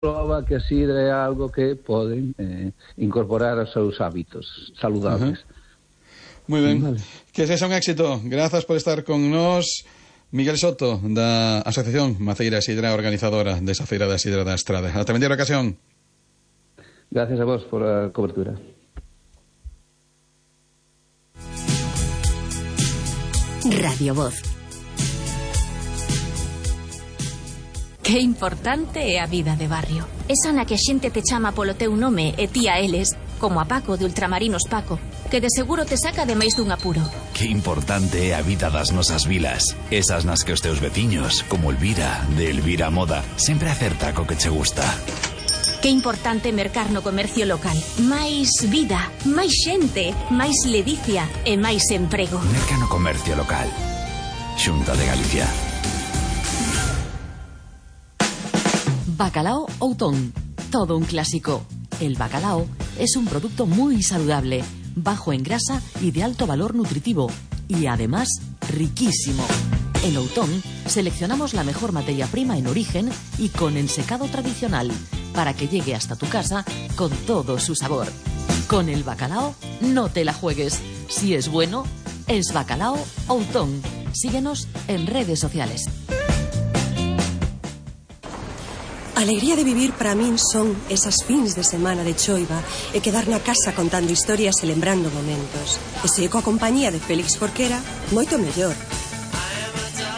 prova que a sidra é algo que poden incorporar aos seus hábitos saludables. Moi ben, vale. Que sexa un éxito. Grazas por estar con nós, Miguel Soto, da Asociación Maceira Sidra, organizadora desa Feira da Sidra da Estrada. Ata vendera ocasión. Gracias a vos por a cobertura. Radio Voz. Que importante é a vida de barrio. Esa na que a xente te chama polo teu nome e ti a eles, como a Paco de Ultramarinos Paco, que de seguro te saca de máis dun apuro. Que importante é a vida das nosas vilas. Esas nas que os teus veciños, como Elvira, de Elvira Moda, sempre acerta co que che gusta. Que importante mercar no comercio local. Máis vida, máis xente, máis ledicia e máis emprego. Merca no comercio local. Xunta de Galicia. Bacalao Outón. Todo un clásico. El bacalao es un producto muy saludable, bajo en grasa y de alto valor nutritivo. Y además, riquísimo. En Outón seleccionamos la mejor materia prima en origen y con ensecado tradicional, para que llegue hasta tu casa con todo su sabor. Con el bacalao no te la juegues. Si es bueno, es Bacalao Outón. Síguenos en redes sociales. A alegría de vivir para min son esas fins de semana de choiva e quedar na casa contando historias e lembrando momentos. E se coa compañía de Félix Jorquera, moito mellor.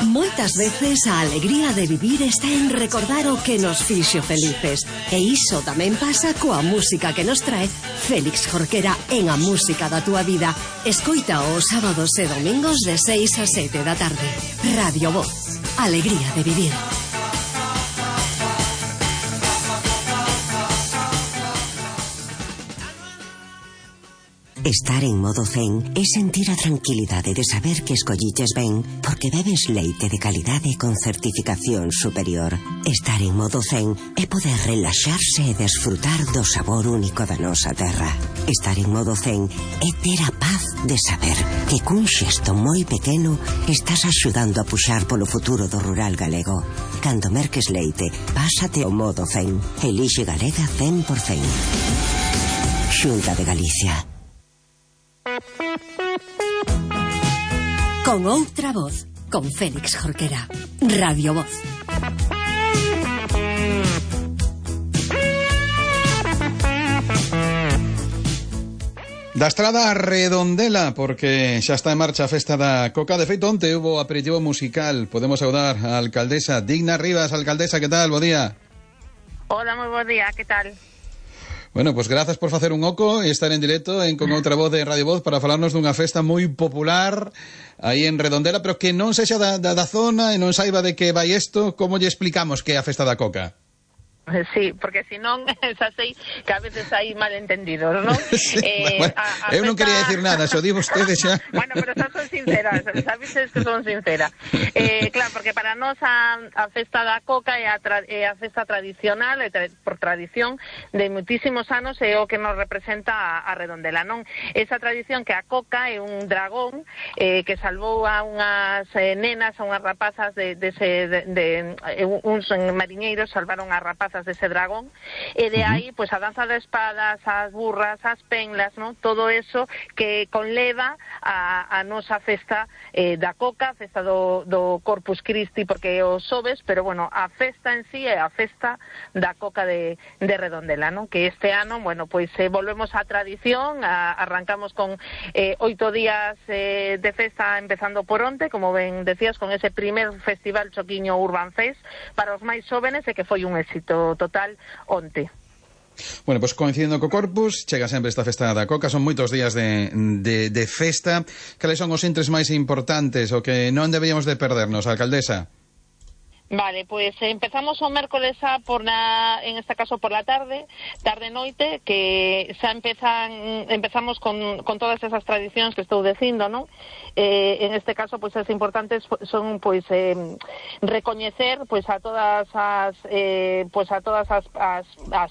Moitas veces a alegría de vivir está en recordar o que nos fixo felices. E iso tamén pasa coa música que nos trae Félix Jorquera en A Música da Túa Vida. Escoita os sábados e domingos de 6 a 7 da tarde. Radio Voz. Alegría de vivir. Estar en modo zen é sentir a tranquilidade de saber que escolliches ben porque bebes leite de calidade con certificación superior. Estar en modo zen é poder relaxarse e desfrutar do sabor único da nosa terra. Estar en modo zen é ter a paz de saber que cun xesto moi pequeno estás axudando a puxar polo futuro do rural galego. Cando merques leite, pásate ao modo zen. Elixe Galega 100%. Xunta de Galicia. Con outra voz, con Félix Jorquera. Radio Voz. Da Estrada a Redondela, porque xa está en marcha a festa da Coca. De feito, onte hubo aperitivo musical. Podemos saudar a alcaldesa Digna Rivas. Alcaldesa, que tal? Bo día. Hola, moi bo día, que tal? Bueno, pues grazas por facer un oco e estar en directo en Con Outra Voz de Radio Voz para falarnos dunha festa moi popular aí en Redondela, pero que non sexa da zona e non saiba de que vai isto. Como lle explicamos que é a festa da Coca? Sí, porque senón xa sei que a veces hai malentendidos, non? Sí, bueno, eu non quería decir nada, xo di vostede xa. Bueno, pero xa son sincera, sabides que son sincera. Claro, porque para nós a festa da Coca é a festa tradicional, por tradición, de muitísimos anos, é o que nos representa a Redondela, non? Esa tradición que a Coca é un dragón que salvou a unhas nenas, a unhas rapazas uns mariñeiros salvaron a rapazas dese dragón, e de aí, pois, a danza de espadas, as burras, as penlas, non? Todo eso que conleva a nosa festa da Coca, a festa do Corpus Christi, porque o sobes, pero, bueno, a festa en sí é a festa da Coca de Redondela, non? Que este ano, bueno, pois, volvemos á tradición, arrancamos con 8 días de festa, empezando por onte, como ben decías, con ese primer festival Choquiño Urban Fest para os máis xóvenes, e que foi un éxito total onte. Bueno, pois coincidindo co Corpus, chega sempre esta festa da Coca, son moitos días de festa. Cales son os intres máis importantes o que non deberíamos de perdernos, alcaldesa? Vale, pues empezamos o mércoles en este caso por la tarde-noite, que xa empezamos con todas esas tradicións que estou dicindo, non? En este caso, pues as importantes son, pues, recoñecer, pues, a todas as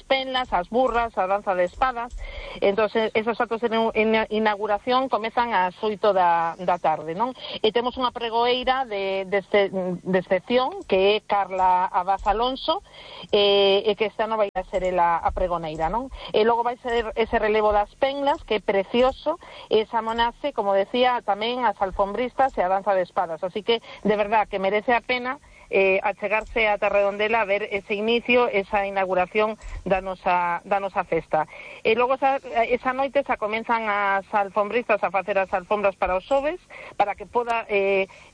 penlas, as burras, a danza de espadas, Entonces, esos actos de inauguración comezan ás 8 da tarde, non? E temos unha pregoeira de excepción, que é Carla Abad Alonso, e que este ano vai a ser a pregoneira, non? E logo vai ser ese relevo das penlas, que é precioso, e esa monace, como decía, tamén as alfombristas e a danza de espadas, así que, de verdad, que merece a pena achegarse a Redondela a ver ese inicio, esa inauguración da nosa festa. E logo esa noite xa comenzan as alfombristas a facer as alfombras para os xoves, para que poda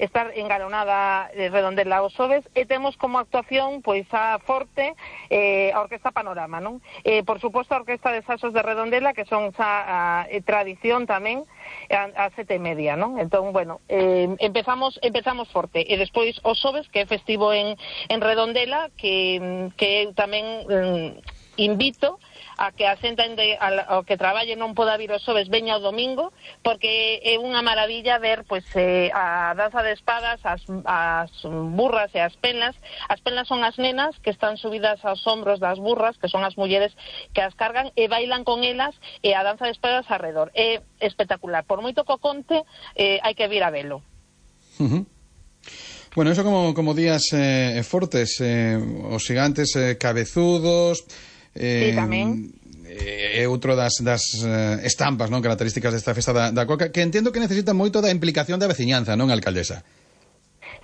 estar engalonada Redondela aos xoves, e temos como actuación pois a Forte, a Orquesta Panorama, non? Por suposto a Orquesta de Saxos de Redondela, que son xa tradición tamén, a 7:30, non? Entón, bueno, empezamos forte, e despois os xoves, que é festivo en Redondela, que eu tamén invito a que a xente ao que traballe non poda vir os xoves, veña o domingo, porque é unha maravilla ver pois a danza de espadas, as burras e as penlas. As penlas son as nenas que están subidas aos hombros das burras, que son as mulleres que as cargan e bailan con elas, e a danza de espadas arredor. É espectacular. Por moito que o conte, hai que vir a velo. Bueno, eso como días fortes, os gigantes cabezudos, sí, tamén. É outro das estampas, non, características desta festa da coca, que entendo que necesita moito da implicación da veciñanza, non, alcaldesa?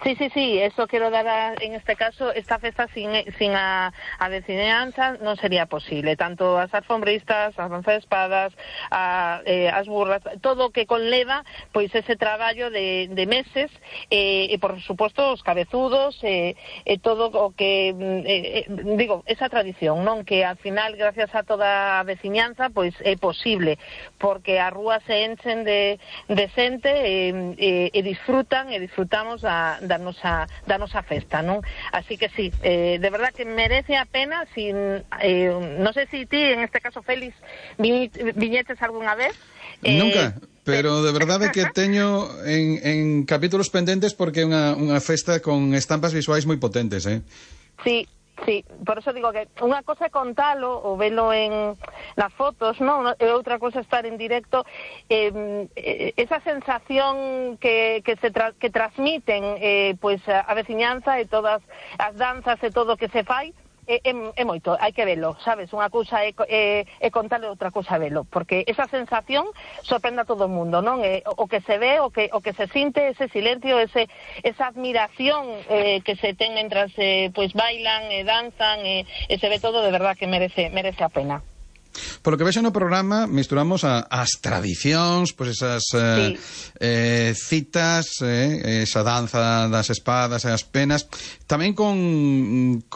Sí, eso quero dar en este caso, esta festa sin a veciñanza non sería posible, tanto as alfombristas, as danzas de espadas, as burras, todo o que conleva pois ese traballo de meses, e por suposto os cabezudos, e todo o que digo, esa tradición, non, que al final gracias a toda a veciñanza pois é posible, porque as rúas se enchen de xente e disfrutamos da nosa festa, non? Así que sí, de verdad que merece a pena. Non sei se ti, en este caso, Félix, viñetes algunha vez? Nunca, pero de verdade que teño en capítulos pendentes, porque é unha festa con estampas visuais moi potentes, Sí, por eso digo que unha cosa é contalo ou velo nas fotos, non? E outra cosa estar en directo, esa sensación que transmiten pois a veciñanza e todas as danzas e todo o que se fai, é moito, hai que velo, sabes? Unha cousa é contalo, outra cousa é velo, porque esa sensación sorprende a todo o mundo, non? O que se ve, o que se sinte, ese silencio, esa admiración que se ten mentras pois bailan e danzan, e se ve todo, de verdad que merece a pena. Por lo que vexo no programa, misturamos as tradicións, pois esas citas, esa danza das espadas e as penas, tamén con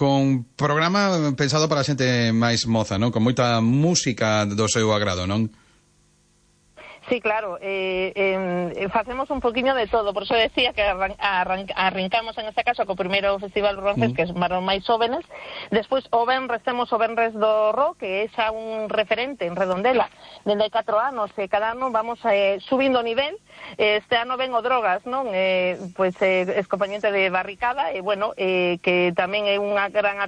programa pensado para a xente máis moza, non? Con moita música do seu agrado, non? Sí, claro, facemos un poquinho de todo, por eso decía que arrancamos en este caso co primeiro Festival Roncés, que é para os máis jóvenes. Despois o Benres, temos o Benres do Rock, que é xa un referente en Redondela dende 4 anos, e cada ano vamos subindo o nivel. Este ano ven o Drogas, non? Pois es compañente de Barricada, e bueno, que tamén é unha gran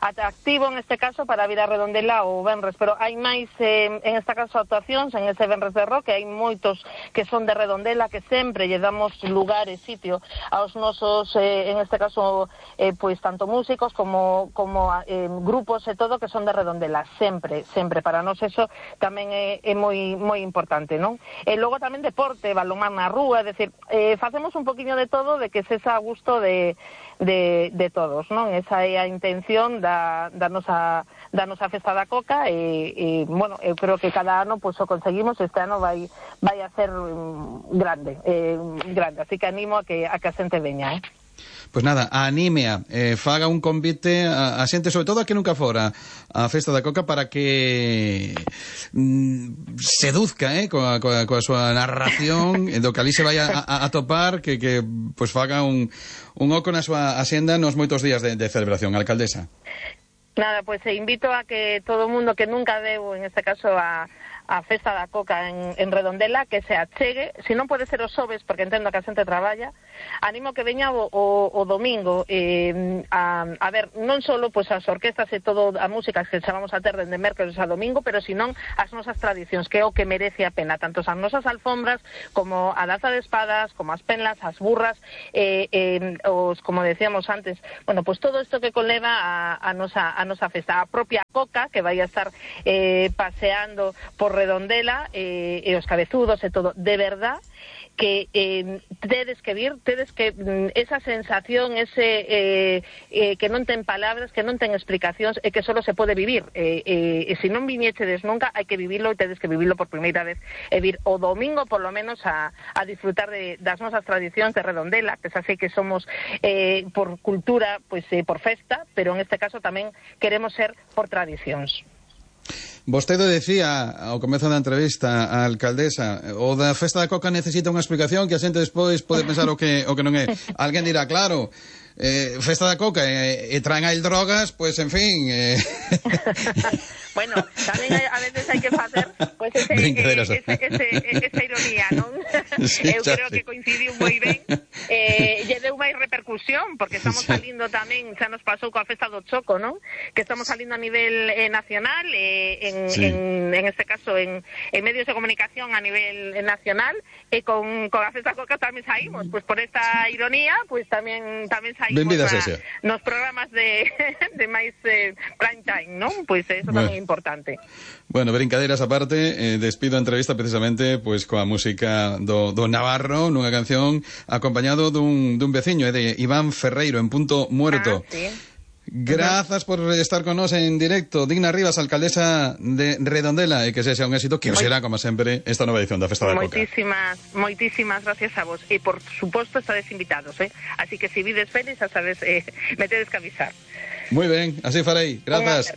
atractivo en este caso para vir a Redondela o Benres, pero hai máis en este caso actuacións en ese Benres de Rock, que hai moitos que son de Redondela, que sempre lle damos lugar e sitio aos nosos, en este caso, pois tanto músicos como grupos e todo que son de Redondela, sempre, para nós eso tamén é moi importante, non? E logo tamén deporte, balonmán na rúa, é dicir, facemos un poquinho de todo, de que se xa a gusto de todos, non? Esa é a intención da nosa festa da coca, e bueno, eu creo que cada ano pois o conseguimos. Este ano vai a ser grande, así que animo a que a xente veña, Pois nada, anímea, faga un convite a xente, sobre todo a que nunca fora a festa da coca, para que seduzca coa súa narración, do que ali se vai a topar, que pois faga un oco na súa axenda nos moitos días de celebración, alcaldesa. Nada, pois invito a que todo o mundo que nunca veu, en este caso, a a Festa da Coca en Redondela, que se achegue, se non pode ser os xoves, porque entendo que a xente traballa, animo que veña o domingo, a ver, non só pois, as orquestas e todo a música que chamamos a ter dende mércoles a domingo, pero senón as nosas tradicións, que é o que merece a pena, tanto as nosas alfombras, como a danza de espadas, como as penlas, as burras, os, como decíamos antes, bueno, pues todo isto que conleva a nosa festa, a propia Coca, que vai a estar paseando por Redondela, e os cabezudos e todo, de verdad que tedes que vir, esa sensación, ese que non ten palabras, que non ten explicacións e que solo se pode vivir, e se non viñechedes nunca, hai que vivilo, e tedes que vivilo por primeira vez, e vir o domingo por lo menos a disfrutar das nosas tradicións de Redondela, que xa sei que somos por cultura, pois por festa, pero en este caso tamén queremos ser por tradicións. Vostede decía ao comezo da entrevista a alcaldesa, o da Festa da Coca necesita unha explicación que a xente despois pode pensar o que non é. Alguén dirá, claro, Festa da Coca e traen aí drogas, pois en fin... Bueno, tamén a veces hai que facer pues, esa ironía, non? Sí, eu creo que coincidiu moi ben, lle deu máis repercusión, porque estamos salindo tamén, xa nos pasou coa Festa do Choco, non? Que estamos salindo a nivel nacional, en este caso en medios de comunicación a nivel nacional, e con a Festa Coca tamén saímos, pues por esta ironía, pues tamén saímos nos programas de máis prime time, non? Pues eso tamén é importante. Bueno, brincadeiras aparte, despido a entrevista precisamente pois coa música do Navarro, nunha canción acompañado dun veciño, de Iván Ferreiro, en Punto Muerto. Sí. Grazas por estar con nós en directo. Digna Rivas, alcaldesa de Redondela, e que sexa un éxito, que o será, como sempre, esta nova edición da Festa da Coca. Moitísimas gracias a vos, e por suposto estades invitados, así que se vides feliz, a sabes, me tedes que avisar. Moi ben, así farei. Grazas.